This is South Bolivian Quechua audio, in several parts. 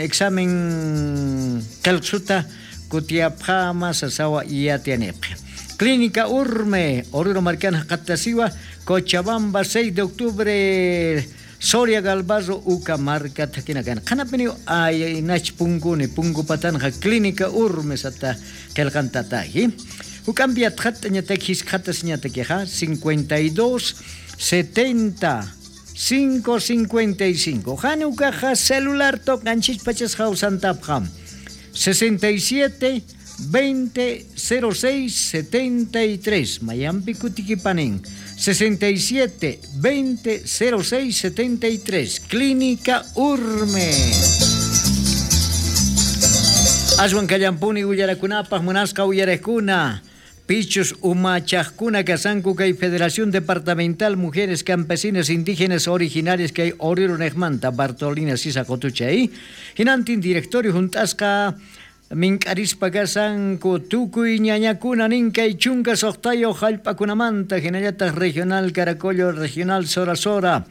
Examen qelqsuta kutiyapqama sasawa yatianipqa. Clínica Urme, Oruro Marcana Qatasiwa, Cochabamba, 6 de octubre, Soria Galvarro, Uca Marca, Taquinacan. Qanapini ay nach punguni, pungu patanja, Clínica Urme, sata qelqantataji. Hukambi atqata ñataki hisqatas ñatakiqa 52 70 555. Hanukaqa celular toqanchis pachas hawsantapqa 67 20 06 73. Mayampi kutikipanin 67 20 06 73. Clínica Urme. Ashwan kallampuni willarakunapaq munasqa uyarakuna. Pichus umachaqkuna kasanku kay Federación Departamental Mujeres Campesinas Indígenas Originarias kay Oruro nejmanta Bartolina Sisa Qotuchay. Hinantin directorio juntasqa mink'arispa kasanku tukuy ñañakuna ninkay chunka suqtayuq hallp'akunamanta hinallataq regional Caracollo, regional Sora Sora.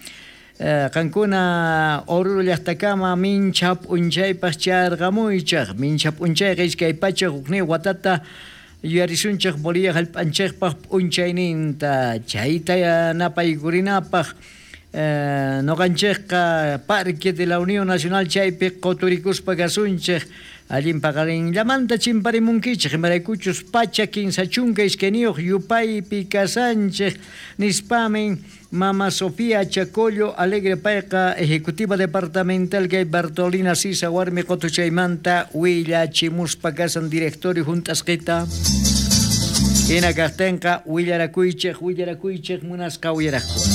Qankuna Oruro llaqtakama mincha p'unchaypaq charqamuychaq mincha p'unchayqa 201 watata yuyarisunchik Bolivia hallp'anchikpaq p'unchayninta chayta napaykurinapaq noqanchikqa Parque de la Unión Nacional chaypi quturikuspa kasunchik allin paqarinllamanta chimparimunkichik imaraykuchus pacha 32 yupaypi kasanchik nispamin Mama Sofía Chacollo Alegre payqa ejecutiva departamental kay Bartolina Sisa warmi qutuchaymanta willachimuspa kasan directorio juntasqita hina kaqtinqa willarakuychik willarakuychik munasqa uyaraqkuna.